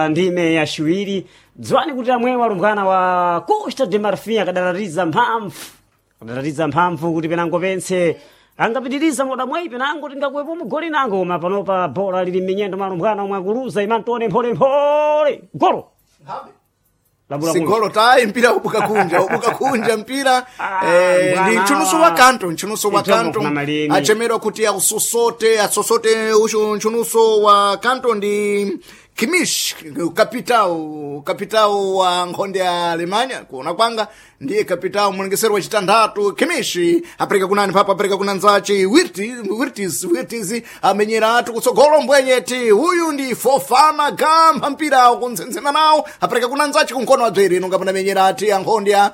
Ndime yaciwiri dziwani kuti amwewo alumbwana wa Costa de Marfim akadalatiza mphamvu, akadalatiza mphamvu kuti penango pense angapitiriza moda mwayi, penango tingakuwepo mugoli nango. Koma panopa bola lili m'minyendo mwa alumbwana omwe akuluza. Imantone mpholemphole golo labula. Sigolo tayi, mpira ubuka kunja, ubuka kunja mpira. Ah, ndi mbwana. nchunuso wa kanto, nchunuso wa Ichomo kanto kuna malini. Achemerwa kuti ausosote, asosote uchu nchunuso wa kanto ndi Kimish, kapitao, kapitao wa nkhonde ya Alemanya. Kuona kwanga ndiye kapitao, mulengesero wa chitanthatu. Kimish apereka kunani papa, apereka kuna nzachi Wirtis, Wirtis amenyera atu kutsogolo mbwenyeti. Huyu ndi Fofana Gamba, mpira kunzenzema nawo, apereka kuna nzachi kunkono wa dzwere inonga panamenyera ati ankhonde ya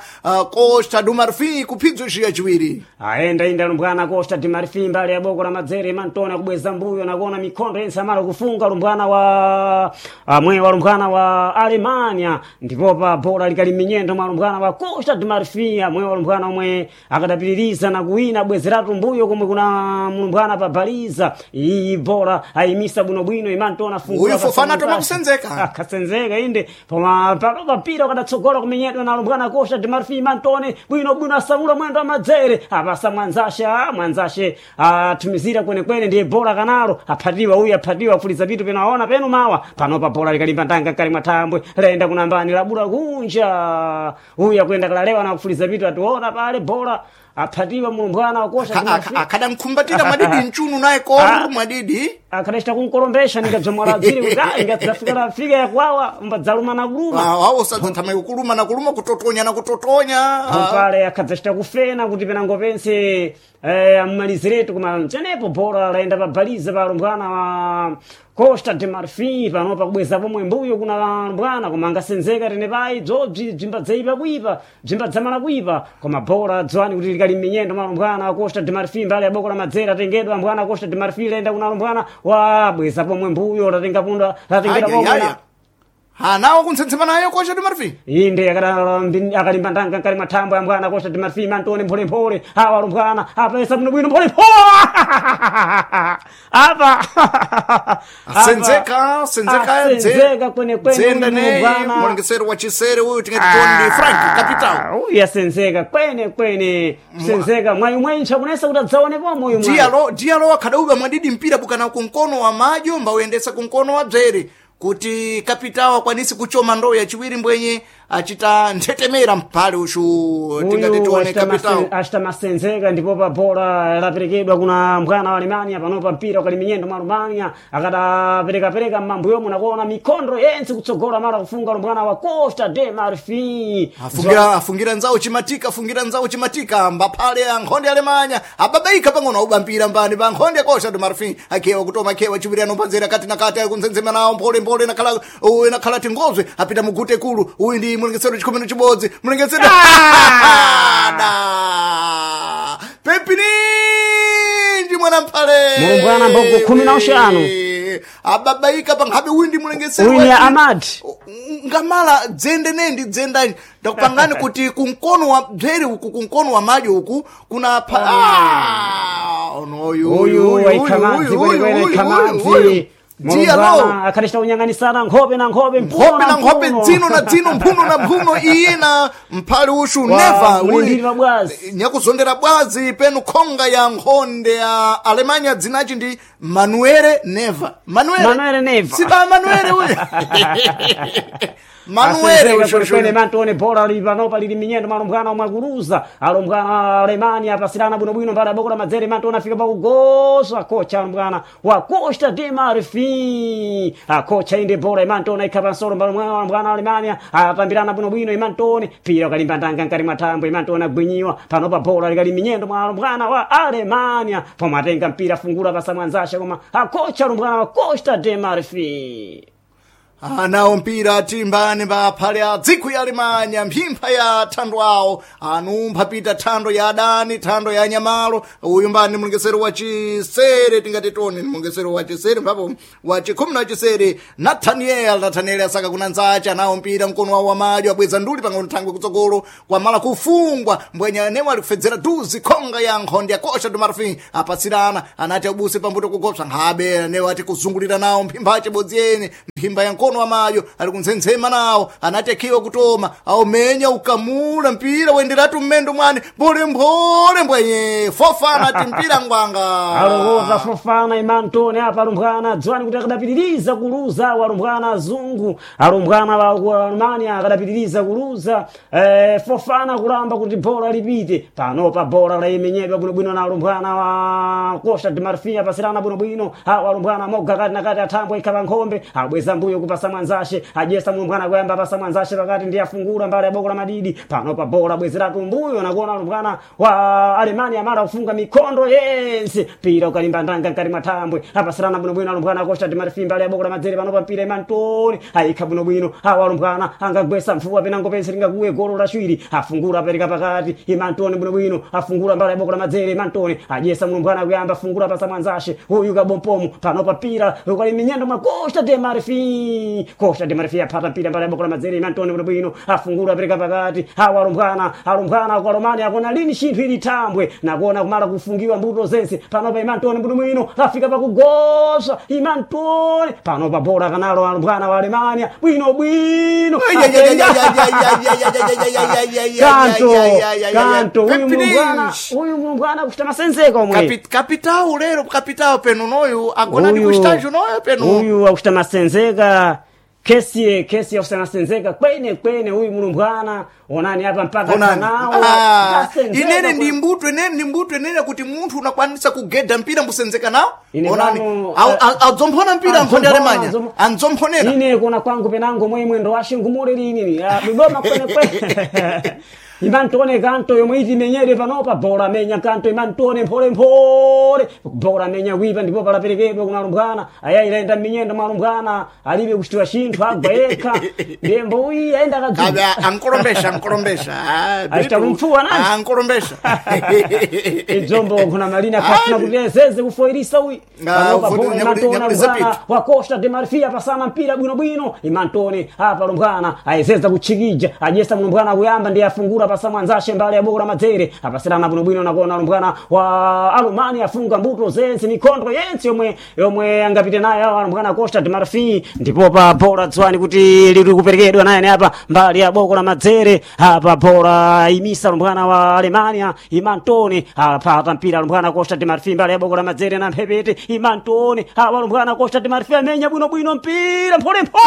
Costa do Marfim kuphidzo ciya chiwiri. Aenda inda lumbwana Costa de Marfim mbali ya boko la madzere. Mantona kubweza mbuyo nakuona mikhondo yense amala kufunga lumbwana wa amwe wa lumbwana wa Alemania. Ndipopa bola likali minyendo mwa lumbwana wa Costa de Marfim, amwe wa lumbwana omwe akadapitiriza na kuwina bwezeratu mbuyo komwe kuna mlumbwana pa baliza iyi bola ayimisa bwinobwino. Imantona fungula. Uyu Fofana atoma kusenzeka. Akasenzeka inde poma palopa mpira ukadatsogola kumenyedwa na lumbwana Costa de Marfim. Mantone bwinobwino asamula mwendo wa madzere, apasa mwanzashe, mwanzashe atumizira kwenekwene, ndiye bola kanalo aphatiwa uyu, aphatiwa kufuliza pitu penaona penu mawa. Panopa bola likalimba ndanga kali mwathambwe, laenda kunambani, labula kunja. Uyu akuyenda kalalewa na kufuliza pitu, ationa pale bola aphatiwa mulumbwana wa Costa de Marfim. Akadamkhumbatira mwadidi mchunu naye koru mwadidi. Akadachita kunkolombesha ningabzomwaladziri kuti ingadzafika lafika yakwawa mbadzaluma na kuluma. Awo sadzathamai kuluma na kuluma, kutotonya na kutotonya. Pale akadzachita kufena kuti penango pense ammaliziretu, koma chenepo bora laenda pabaliza pa lumbwana wa Costa de Marfim. Panopa kubweza pomwe mbuyo kuna lumbwana, koma angasenzeka tene payi dzobzi bzimba dzaipa kuipa, bzimba dzamala kuipa. Koma bora dziwani kuti likali m'minyendo mwa lumbwana wa Costa de Marfim mbali ya boko la madzera. Atengedwa mbwana Costa de Marfim, laenda kuna lumbwana wa bweza pomwe mbuyo, latenga punda, latengera pomwe Ayayaya, anawo kuntsensema nayo Costa do Marfim. Inde akalimba ndanga nkali mathambo ya mbwana Costa de Marfim. Antone mpholemphole awa lumbwana apesa bwinobwino mpholemphole apa. Senzeka, senzeka. Asenzeka kwenekwene. Dzenda uyu ne mulumbwana. Mulengesero wa chisere uyu tingati toni Frank kapitao. Uyu asenzeka kwene kwene, senzeka mwayi mwentcha kunesa kuti adzaone pomwe uyu mwayi. Dialo, dialo akhadauba mwadidi mpira bukana kunkono wa madyo mbawuyendesa kunkono wa dzere kuti kapitao akwanisi kuchoma ndowe yachiwiri mbwenye achita nthetemera mphale uchu tingati uyu tione kapitao. Achita masenzeka. Ndipo pa bola laperekedwa kuna mbwana wa Alemania. Panopa mpira ukali minyendo mwa Alemania, akadaperekapereka mmambuyomo nakuona mikhondo yense kutsogola mara kufunga lumbwana wa Costa de Marfim. Afungira, afungira nzawo chimatika, afungira nzawo chimatika mbaphale a nkhonde ya Alemanya ababaika pang'ono auba mpira mbani pa nkhonde ya Costa do Marfim. Akhewa kutoma, akhewa chiwiri anopanzera kati na kati akunzenzema nawo mpholemphole nakhala uyu nakhala tingozwe apita mugute kulu. Uyu ndi mulengesero chikhumi na chibodzi, mulengesero da pepininji mwana mphale. Mulumbwana mbogo 15. Ababaika pankhabe. Uyu ndi mulengesero uyu ni Amad. Ngamala dzende nendi dzendani ndakupangani kuti kunkono wa bzere uku, kunkono wa madyo uku kuna pa ah, onoyu. Uyu waikhamadzi kwenekwene, ikhamadzi. Dialo. Mulumbwana akadachita kunyang'anisana nkhope na nkhope. Nkhope na nkhope, dzino na dzino, mphuno na mphuno, iye na mphale ushu neva. Mulindiri wa bwazi. Nyakuzondera bwazi penu khonga ya nkhonde ya Alemanya dzinachi ndi Manuele Neva, Manuele. Manuele Neva. Siba Manuele uyu, Manuele Asenzeka ushu. kwenekwene. Mantone bola lili panopa lili minyendo malumbwana omwe akuluza alumbwana Alemania apasirana bwinobwino mbali aboko la madzere. Mantone afika pakugosa kocha alumbwana wa Costa de Marfim akocha inde bola Imantone ikha pansolo mbali mwa alumbwana Alemania atambirana bwinobwino. Imantone pira ukalimba ndanga nkali mwathambo. Imantone agwinyiwa. Panopa bola likali minyendo mwa alumbwana wa Alemania pomwe atenga mpira afungula pasa mwanzashe, koma akocha alumbwana wa Costa de Marfim. Anawo mpira timbani mbaphale a dziko ya Alemanya mphimpha ya thando awo anumpha pita thando ya adani, thando ya anyamalo. Uyu mbani mulengesero wa chisere tingati toni mulengesero wa chisere mphapo wa chikhumi na chisere Nathaniel, Nathaniel asaka kuna nzache. Anawo mpira mkono wawo wamadyo abweza nduli pang'ono thangwe kutsogolo kwamala kufungwa mbwenya anewo ali kufedzera duzi khonga ya nkhonde ya Costa do Marfim apatsirana anati abuse pambuto kugopsa nkhabe anewo ati kuzungulira nawo mphimpha achibodzi ene mphimba ya nkolo. mkono wa mayo ali kunzenzema nawo anati akhiwa kutoma aumenya ukamula mpira wenderatu mmendo mwane mbole mbole mbwenye Fofana ati mpira ngwanga Alokoza Fofana Imantone apa alumbwana dzwani kuti akadapitiriza kuluza awo alumbwana azungu alumbwana wa Alumania akadapitiriza kuluza Fofana kulamba kuti bola lipite panopa bola laimenyedwa bwinobwino na alumbwana wa Costa de Marfil apasirana bwinobwino awo alumbwana moga kati na kati athambwe ikhala nkhombe abweza mbuyo kupasa mwanzashe ajesa mlumbwana kuyamba apasa mwanzashe pakati ndiye afungula mbali ya boko la madidi panopa bola bwezeratu mbuyo nakuona alumbwana wa Alemania amala kufunga mikondo yense mpira ukalimba ndanga nkati mwa thambwe apasirana bwinobwino alumbwana Costa de Marfil mbali ya boko la madzere panopa mpira Imantoni ayikha bwinobwino awo alumbwana angagwesa mfuwa penango pense lingakuwe golo lachiwiri afungula apereka pakati Imantoni bwinobwino afungula mbali ya boko la madzere Imantoni ajesa mlumbwana kuyamba afungula pasa mwanzashe uyu kabompomu panopa pira ukali minyendo mwa Costa de Marfil Costa de Marfil apata mpira mbali ya boko la madzere Imantoni bwinobwino afungula apereka pakati awo alumbwana alumbwana kwa Romania akona lini chinthu ili thambwe nakuona kumala kufungiwa mbuto zense panopa Imantoni bwinobwino afika pakugosa Imantoni panopa bola kanalo alumbwana wa Alemania bwinobwino kanto kanto uyu mlumbwana uyu mlumbwana kuchita masenzeka omwe Kapitao lero kapitao penu noyu agona ndi kuchitacho noyo penu uyu akuchita masenzeka kesiye kesiye akuchita masenzeka kwene kwene uyu mlumbwana onani apa mpaka Onani. kanawo Ah, kasenzeka inene kwa- ndi mbuto inene ndi mbuto inene kuti munthu unakwanisa kugeda mpira mbusenzeka nawo Ine onani pano, adzomphona mpira nkhonde Alemanya andzomphonera ine kuona kwangu penango mwemwe ndo ashingumule lini dodoma kwene kwene Imantone kanto yomwe iti imenyere panopa bola menya kanto Imantone mphole mphole bola menya wipa ndipo palaperekedwa kuna alumbwana aya ilaenda minyendo mwa alumbwana alibe kuchitiwa chinthu agwa yekha ndembo uyi aenda kadzuka Kabe ankolombesha ankolombesha Ah, Achita Bitu. kumfuwa nani? Ah, ankolombesha idzombo kuna malina akafuna kuti ezeze kufoirisa uyi Ah, Panopa ufuti bola nyakuli- Imantone nyakuli alumbwana zapitu. wa Costa de Marfil pasana mpira bwinobwino Imantone apa alumbwana ayezeza kutchikija ajesa mlumbwana kuyamba ndiye afungula pasa mwanzashe mbali ya boko la madzere apasirana bwinobwino nakuona alumbwana wa Alumani afunga mbuto zense mikondo yense yomwe yomwe angapite nayo awo alumbwana Costa de Marfil ndipo pa bola dzwani kuti lili kuperekedwa naye apa mbali ya boko la madzere apa bola imisa alumbwana wa Alemania Imantone apata mpira alumbwana Costa de Marfil mbali ya boko la madzere na mphepete Imantone awa alumbwana Costa de Marfil amenya bwinobwino mpira mphole mphole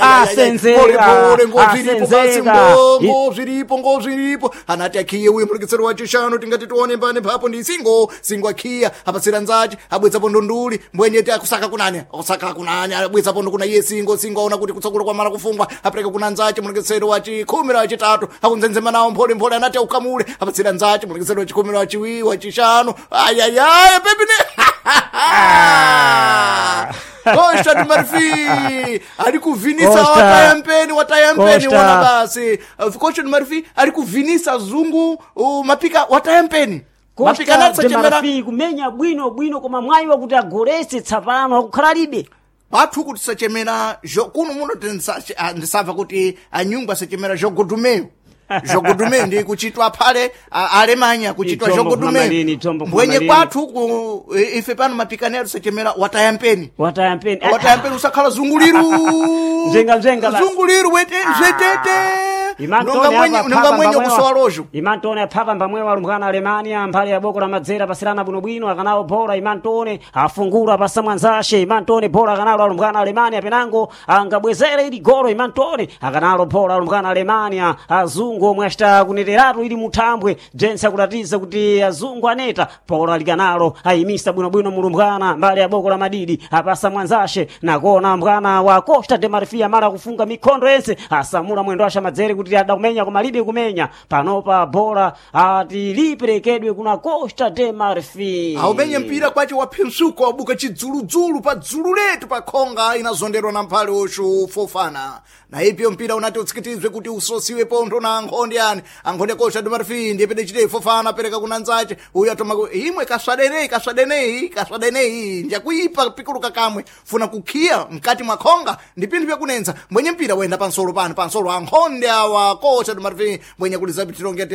Asenzeka, Pole, ngozviripo basi asenzeka. ngozviripo ngozviripo anati akhiye uyu mulekesero wa chishanu tingati tione mbane mphapo ndi singo singo akhiya apatsira nzachi abwetsapo ndunduli mbwenyeti akusaka kunani akusaka kunani abwetsapo ndukuna iye singo singo aona kuti kutsogolo kwamala kufungwa apereka kuna nzachi mulekesero wa chikhumi la chitatu akunzenzema nawo mphole mphole anati aukamule apatsira nzachi mulekesero wa chikhumi la chiwi wa chishanu ayayaya pepine Costa de Marfil ari kuvinisa Costa. wataya mpeni wataya mpeni Costa. wona basi Costa de Marfil ari kuvinisa zungu mapika wataya mpeni mapika Costa de natsachemera Marfil kumenya bwino bwino koma mwayi wakuti agolese tsapano akukhalalibe pathu kuti sachemera kuno muno ndisabva kuti anyungu asachemera jogodumeyo jogodumeyo ndi kuchitwa phale alemanya kuchitwa Idzombo jogodumeyo kumamalini, idzombo mbwenye kumamalini. kwathu ife pano mapikani atu sachemera wataya mpeni wataya mpeni wataya mpeni usakhala zunguliru Mzenga mzenga basi. zunguliru wete zvetete Imantone nonga mwenye apa nonga phapa mwenye mbamwewa. kusowa lojo Imantone aphapa mbamwewa alumbwana Alemania mphale ya boko la madzera pasirana bwinobwino akanawo bola Imantone afungula pasa mwanzashe Imantone bola akanalo alumbwana Alemania penango angabwezere ili golo Imantone akanalo bola alumbwana Alemania azungu omwe achita kuneteratu ili muthambwe jense akulatiza kuti azungu aneta bola likanalo ayimisa bwinobwino mulumbwana mbali ya boko la madidi apasa mwanzashe nakona mbwana wa Costa de Marfil mara kufunga mikondo yense asamula mwendo asha madzere kuti ada kumenya koma libe kumenya panopa bola ati liperekedwe kuna Costa de Marfil aumenye mpira kwace waphensuko wabuka chidzuludzulu pa dzulu letu pa khonga inazonderwa na mphale oshu Fofana na ipyo mpira unati utsikitizwe kuti usosiwe pontho na ankhonde ani ankhonde Costa de Marfil ndiye pene chite Fofana apereka kuna nzace uyu atoma imwe kaswadenei kaswadenei kaswadenei njakuipa pikuluka kamwe funa kukhiya mkati mwa khonga ndi pinthu pyakunenza mwenye mpira wenda pansolo pano pansolo ankhonde awa wa Costa do Marfim mwenye kulizapitiro ngati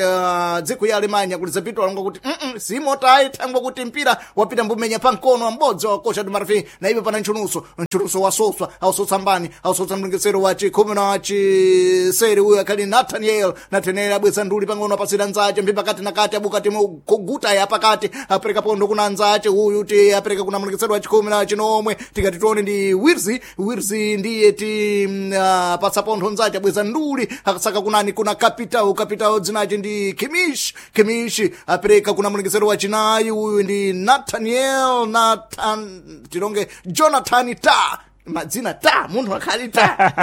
dziko ya Alemanya kulizapitwa alonga kuti simotayi thangwa kuti mpira wapita mbumenya pa mkono wa m'bodzi wa Costa do Marfim na ipo pana nchunuso nchunuso wasoswa ausotsa mbani ausotsa mlengesero wa chikhumi na chisere uyo akhali Nathaniel Nathaniel abweza nduli pang'ono apasira nzace mbi pakati na kati abukati kuguta ya pakati apereka pondo kuna nzace uyu ti apereka kuna mlengesero wa chikhumi na chinomwe tikati tione ndi Wirzi Wirzi ndiye ti patsa pontho nzace abweza nduli akasaka kunani kuna Capital Capital dzinace ndi Kimish Kimish apereka kuna mlengesero wa chinayi uyu ndi Nathaniel Nathan tilonge Jonathan Ta madzina ta munthu akhali ta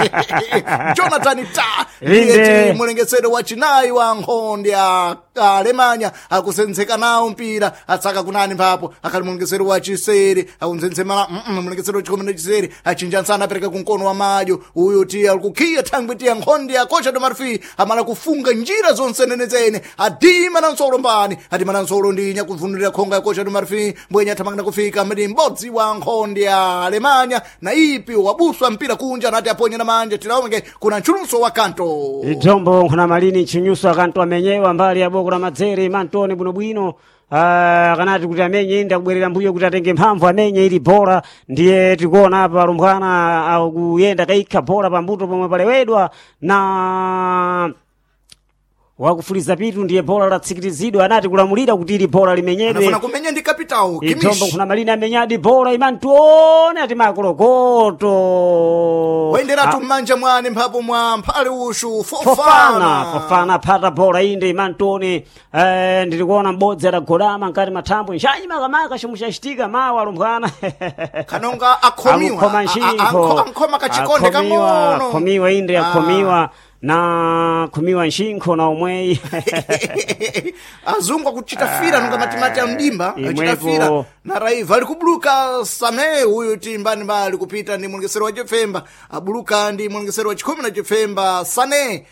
Jonathan Ta ndiye ti mulengesero wa chinayi wa nkhonde ya Alemanya akusenzeka nawo mpira atsaka kunani mphapo akhali mulengesero wa chisere akunzenzemala mulengesero wa chikhumi na chisere achinja nsana apereka kumkono wa madyo uyu ti alikukhiya thangwi tiya nkhonde ya Costa do Marfim amala kufunga njira zonse nenezene adima na nsolo mbani adima na nsolo ndi nyakuvunulira khonga ya Costa do Marfim mbwenye athamangana kufika mdi m'bodzi wa nkhonde ya Alemanya na ipi wabuswa mpira kunja anati aponye na manja tilaonge kuna nchuluso wa kanto Idzombo nkhuna malini nchinyuso akanto amenyewa mbali ya boko la madzere mantoni bwinobwino. Kanati kuti amenye inde akubwerera mbuyo kuti atenge mphamvu amenye ili bora ndiye tikuona apa alumbwana akuyenda kaikha bora pambuto pomwe palewedwa na wakufuliza pitu ndiye bora latsikirizidwa anati kulamulira kuti ili bora limenyedwe anafuna kumenya ndi Capital Idzombo Kimish nkhuna malini amenyadi bora imantione ati makolokoto wayenderatu m'manja mwane mphapo mwa mphale ushu Fofana Fofana Fofana phata bora inde imantoni ndilikuona m'bodzi adagolama nkati mathambo nshanyi makamaka chomwe chachitika mawa alumbwana kanonga akhomiwa amukhoma nchinkho ankhoma kachikonde kang'ono akhomiwa inde akhomiwa na khomiwa nchinkho na omweyi azungu akuchita fira nonga matimati a mdimba achita Imwepo. fira na raiva ali kubuluka same uyu ti mbani mbali kupita ndi mulengesero wa chifemba abuluka ndi mulengesero wa chikhumi na chifemba sane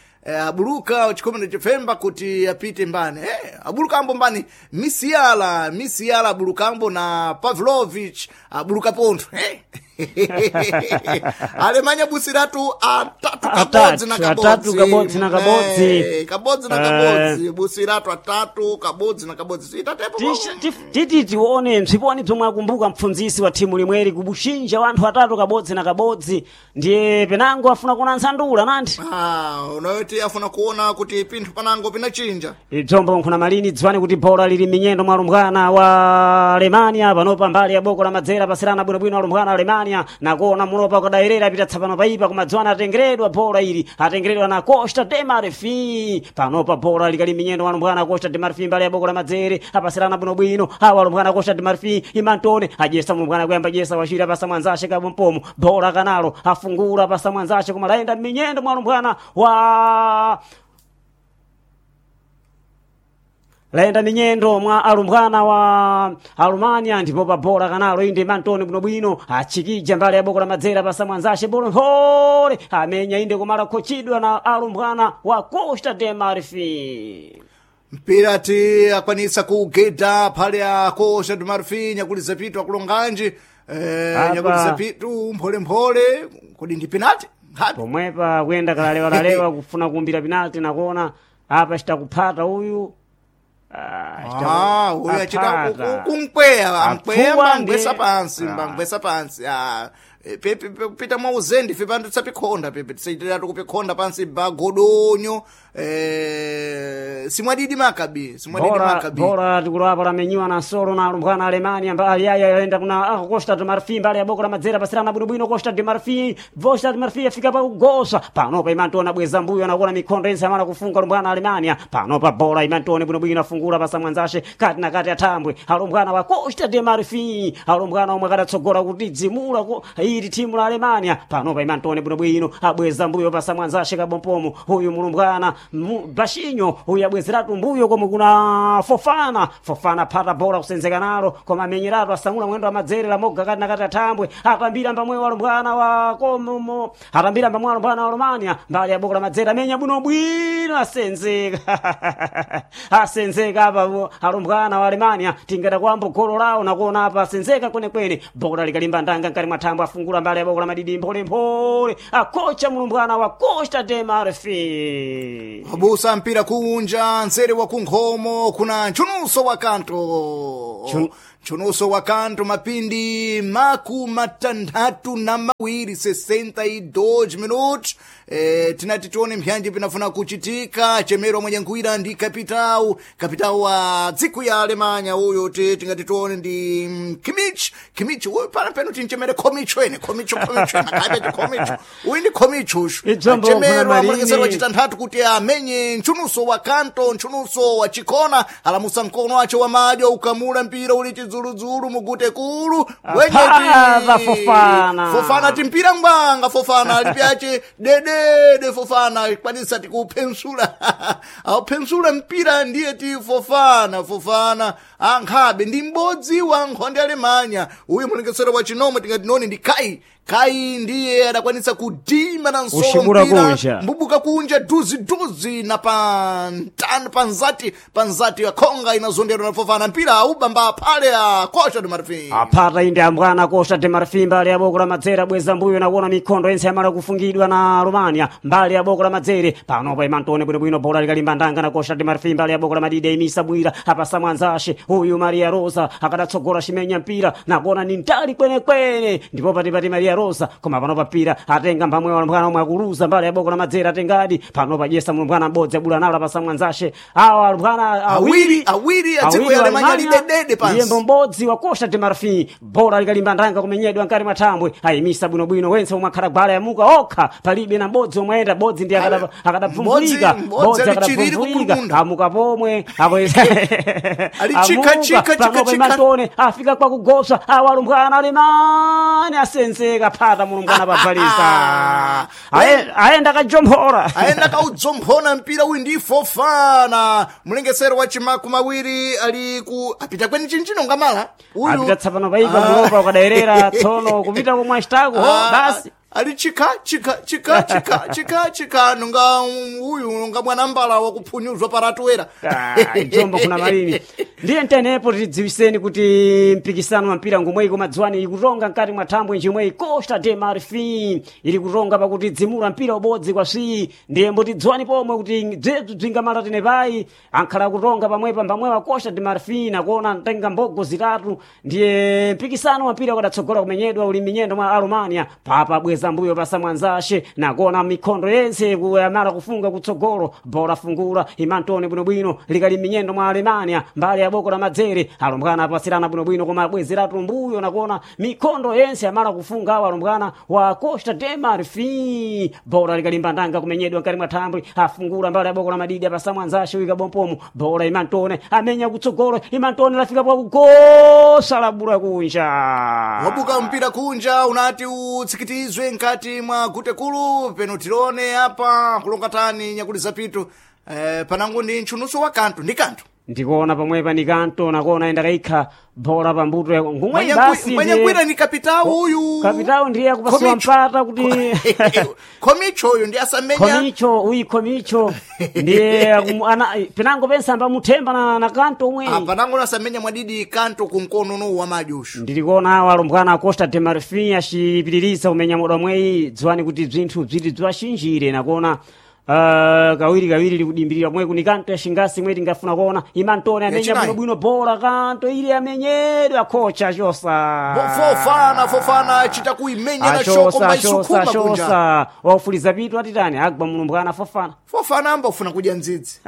abuluka wa chikhumi na chifemba kuti apite mbani abuluka ambo mbani misiala misiala abuluka ambo na pavlovich abuluka pontho alemanya busiratu atatu kabodzi na Atatu, atatu kabodzi na kabodzi. Kabodzi na kabodzi busiratu atatu kabodzi na kabodzi sitatepo Titi tione msiponi bzomwe akumbuka mpfunzisi wa thimu limweri kubushinja wanthu atatu kabodzi na kabodzi ndiye penango afuna kuona ntsandula nanthi Ah, unayoti afuna kuona kuti pinthu panango pinachinja Idzombo nkhuna malini dziwani kuti bhola lili minyendo mwa alumbwana wa Alemania panopa mbali ya boko la madzera pasirana bwinobwino alumbwana Alemania nakuona mulopa ukadayerera apita tsapano paipa koma dziwani atengeredwa bhola ili atengeredwa na Costa de Marfim panopa bhola likali minyendo mwa alumbwana Costa de Marfim mbali ya boko la madzere apasirana bwinobwino awa alumbwana Costa de Marfim imantone ajesa mulumbwana kuyamba jesa wachira pasa mwanzace kabompomo bhola kanalo afungula pasa mwanzace koma layenda minyendo mwa alumbwana wa layenda minyendo mwa alumbwana wa alumania ndipo pa bola kanalo inde mantoni bwinobwino achikija mbali ya boko la madzera pasa mwanzace bolo mphole amenya inde kumala khochidwa na alumbwana wa Costa de Marfim mpira ti akwanisa kugeda phale a Costa do Marfim nyakuliza pitu akulonganji Apa. nyakuliza pitu mpholemphole kodi ndi penalty nkhapi pomwepa kuyenda kalalewalalewa kufuna kuumbira penalty nakuona apa chitakuphata uyu Ah, uyu achita kumpweya ampweya Apfuwa mbangwesa pansi Ah. mbangwesa pansi Ah, pita mwa uzendi fe pantu tisapikhonda pepe tisayitiratu kupikhonda pansi bagodonyo simwadidi makabi simwadidi bora makabi bora tikulapa lamenyiwa na solo na alumbwana Alemania mbali yaya yaenda kuna Costa do Marfim mbali ya boko la madzera pasirana bwinobwino Costa de Marfim Costa de Marfim afika pa kugosa panopa imantona bweza mbuyo anakuona mikhondo yense amala kufunga alumbwana Alemania panopa bora imantone bwinobwino afungula pasa mwanzashe kati na kati athambwe alumbwana wa Costa de Marfim alumbwana omwe akadatsogola kuti dzimula ili timu la Alemania panopa imantone bwinobwino abweza mbuyo pasa mwanzashe kabompomo huyu mulumbwana Bashinyo huyu abwezeratu mbuyo komwe kuna Fofana Fofana phata bola kusenzeka nalo koma amenyeratu asamula mwendo wa madzere lamoga kati na kati athambwe atambira mbamwe walumbwana wa komomo atambira mbamwe walumbwana wa Romania mbali ya boko la madzere amenya bwinobwino asenzeka asenzeka apa alumbwana wa Alemania tingada kwambo golo lawo nakuona apa asenzeka kwenekwene bola likalimba ndanga nkati mwa thambo afungula Afungula mbali ya boko la madidi mpholemphole akocha mulumbwana wa Costa de Marfin. Wabusa mpira kunja nzere wa kunkhomo kuna nchunuso wa kanto nchunuso wa kanto mapindi 62 62 minutos. Tinati tione mpyanji pinafuna kuchitika chemero mwenye nkuira ndi kapitau wa dziko ya Alemanya uyu tingati tione ndi Kimmich. Kimmich uyu pana peno tinchemere Komicho ene Komicho Komicho nakabe Komicho uyu ndi Komicho ushu Idzombo chemero kuna malini. amulekesero wachitanthatu kuti amenye nchunuso wa kanto nchunuso wa chikona alamusa mkono wace wa madyo ukamula mpira uli chidzuludzulu mugute kulu Apava Fofana. Fofana timpira ngwanga Fofana alipyace dedede Fofana kwanisa tikuphensula auphensula mpira ndiye ti Fofana. Fofana ankhabe ndi m'bodzi wa nkhonde Alemanya uyu mulengesero wa chinomwe tingati noni ndi Kai. Kai ndiye adakwanisa kudima na nsolo Ushibura mpira kunja. mbubuka kunja duziduzi na panzati panzati ya khonga inazonderwa na Fofana mpira aubamba phale a Costa do Marfim. Apata inde ambwana Costa de Marfin mbali ya boko la madzere abweza mbuyo nakuona mikhondo yense yamala kufungidwa na Romania mbali ya boko la madzere panopa imantone bwinobwino bola likalimba ndanga na Costa de Marfin mbali ya boko la madide imisa bwira apasa mwanzashe uyu Maria Rosa akadatsogola chimenya mpira nakuona ni ntali kwenekwene ndipo patipati Maria Rosa koma panopa mpira atenga mpamwe wa omwe akuluza mbali ya boko la madzere atengadi panopa jesa mlumbwana m'bodzi abula nalo apasa mwanzashe awa alumbwana Awiri awiri a dziko awiri ya wa Alemanya Alemanya, lidedede pansi. ndiye mbodzi wa Costa de Marfin bola likalimba ndanga kumenyedwa nkati mwa thambwe ayimisa bwinobwino wense omwe akhala gwala yamuka okha palibe na mbodzi omwe ayenda bodzi ndi akadapfumvulika Mbodzi- bodzi mbodzi alichiriri akadapfumvulika kupulumunda. amuka pomwe Ali chika, chika, chika, panopa chika. imantone afika kwa kugopsa awalumbwana alemani asenzeka phata mulumbwana pabvalisa ayenda kajomphora aenda kaudzomphona mpira uyu ndi Fofana mlengesero wa chimaku mawiri ali ku apita kweni chinchino ngamala uyu apita tsapano paipa mulopa ukadayerera tsono kupita komwe achitako ho basi ali chika chika chika chika chika chika nunga uyu nunga mwana mbala wakuphunyuzwa paratuwera. Ah, njombo kuna malini ndiye ntenepo tidziwiseni kuti mpikisano wa mpira ngomweyi kumadziwani ikutonga mkati mwa thambwe njimweyi Costa de Marfin ili kutonga pakuti dzimula mpira ubodzi kwa swi ndiye mbotidziwani pomwe kuti bzebzu bzingamala tenepayi ankhala kutonga pamwepa mbamwewa Costa de Marfin akuona ntenga mbogo zitatu ndiye mpikisano wa mpira ukadatsogola kumenyedwa uli minyendo mwa Alumania papa bweza mbuyo pasa mwanzashe nakuona mikhondo yense kuyamala kufunga kutsogolo bola fungula imantone bwinobwino likali minyendo mwa Alemania mbali ya boko la madzere alumbwana apasirana bwinobwino koma abwezeratu mbuyo nakuona mikhondo yense amala kufunga awo alumbwana wa Costa de Marfin bola likalimba ndanga kumenyedwa nkati mwa thambwe afungula mbali ya boko la madidi apasa mwanzashe wika bompomo bola imantone amenya kutsogolo imantone lafika pakugosa labula kunja wabuka mpira kunja unati utsikitizwe nkati mwa gutekulu peno tilone apa kulonga tani nyakuli zapitu panangu ndi nchunuso wa kanto ndi kanto ndikuona pamwepa ni kanto nakuona enda kaikha bola pambuto yako ngumwe basi mwenye ni kapitao uyu kapitao ndiye akupasiwa Komicho. mpata kuti Komicho uyu ndi asamenya komicho uyi komicho ndiye pinango pensa ambamuthemba na kanto umwe panangu nasamenya mwadidi kanto kunkono no wa majushu ndilikuona awo alumbwana a Costa de Marfin acipitiriza kumenya moda mweyi dziwani kuti bzinthu bziti bziwachinjire nakuona kawiri kawiri likudimbirira pomwe kuni kanto ya xingasi imwe tingafuna kuona imantone amenya Yachinayi. bwinobwino bola kanto ili amenyedwa khocha chosa Fofana Fofana achita kuimenya na shoko achosa achosa maisukuma kunja achosa waufuliza pitu atitani agwa mulumbwana Fofana. Fofana amba ufuna kudya ndzidzi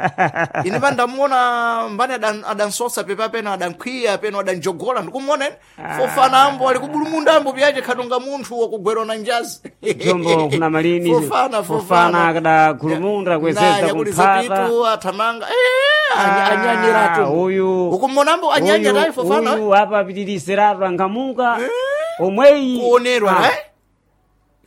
ine pandamuona mbani adansosa pepa peno adankhwiya peno adanjogola ndikumuona ine Fofana ambo ali kubulumunda ambo pyache khatunga munthu wakugwerwa na njazi. Jombo kuna malini Fofana Fofana Fofana akada gulumunda kuwezeza kuliza kumphata pitu athamanga anyanyiratu uyu ukumona ambo anyanya tayi Fofana uyu apa apitiriseratu angamuka omweyi kuonerwa Ah, eh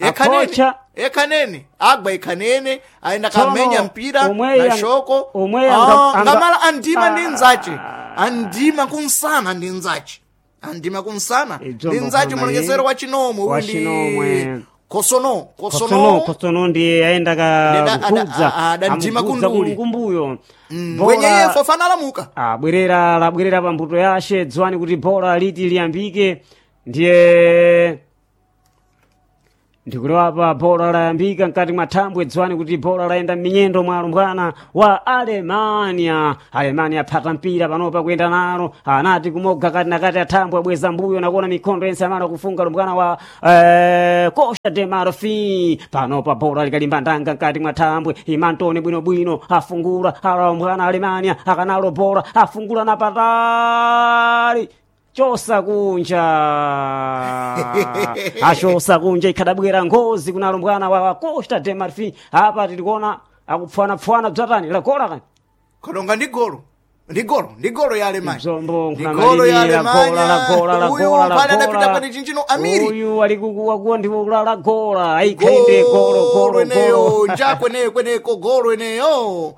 ekhanene Akocha. ekhanene agwa ekhanene aenda Tsono, kamenya mpira omweyi na shoko omweyi Ah, ngamala andima Ah. ndi nzache andima kunsana ndi nzache andima kunsana Idzombo ndi nzache kuna mulekesero wa chinomwe uyu Wa ndi chinomwe. Kosono Kosono Kosono Kosono ndiye aenda Ndeda- kakugudza adandima kunduli. kumbuyo mwenye iye Fofana alamuka abwerera labwerera pa mbuto yashe dziwani kuti bola liti liyambike ndiye Ndikuliwapa bola layambika mkati mwa thambwe, dziwani kuti bola layenda m'minyendo mwa alumbwana wa Alemania. Alemania aphata mpira panopa kuyenda nalo, anati kumoga kati na kati athambwe, abweza mbuyo nakuona mikhondo yense amala kufunga alumbwana wa Costa de Marfin. Panopa bola likalimba ndanga mkati mwa thambwe, imantone bwinobwino afungula alumbwana Alemania, akanalo bola afungula na patali chosa kunja achosa kunja ikhadabwera ngozi kuna alumbwana wa Costa de Marfin. Apa tilikuona akupfwanapfwana bzatani lagola kani Kadonga ndi golo, ndi golo, ndi golo ya Alemanya. Mzombo Ndi golo ya Alemanya. Uyu pale adapita lagola pani chinchino Amiri. uyu alikukuwakuwa ndiwo kulala gola aikhainde golo Golo golo eneyo golo njakweneyo kweneko golo eneyo.